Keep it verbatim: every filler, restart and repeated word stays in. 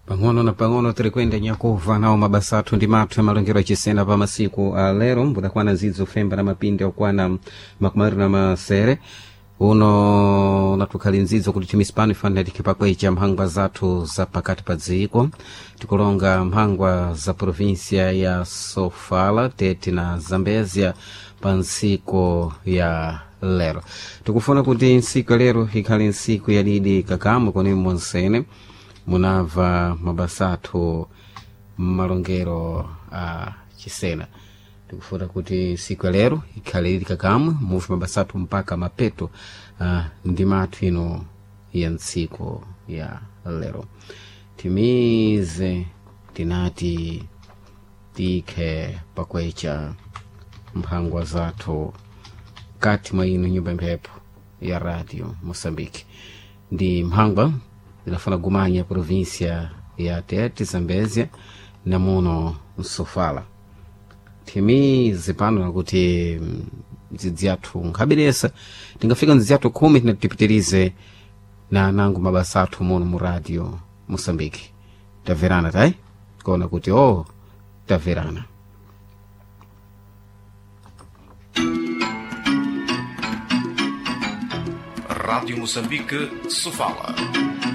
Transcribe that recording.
Pang'ono na pang'ono tiri kuyenda nyakuva nawo mabasa athu ndi mathu amalongero achisena pa masiku a lero mbudakwana zidzo femba na mapindi okwana makumi awiri na masere uno natukhali nzidzo kuti timisipano ifanira tikhe pakwecha mphangwa zathu za pakati pa dziko tikulonga mphangwa za provinsia ya Sofala, Tete na Zambezia pa ntsiku ya lero. Tikufuna kuti ntsiku ya lero ikhale ntsiku yadidi kakamwe koni monsene munamva mabasa athu mmalongero a chisena. Tikufuna kuti siku ya lero ikhale ili kakamwe muvi mabasa athu mpaka mapeto uh, ndi mathu ino ya ntsiku ya lero. Timize tinati tikhe pakwecha mphangwa zathu kati mwa ino nyumba mphepo ya Radio Moçambique ndi mphangwa zinafuna gumanya província ya Tete, Zambezia na muno Msofala. Timize pano nakuti ndzidzi yathu nkhabiresa tingafika ndzidzi yathu khumi tinati tipitirize na anango mabasa athu muno mu Radio Moçambique. Tamverana tayi kuona kuti o oh, tamverana. Rádio Moçambique, Sofala.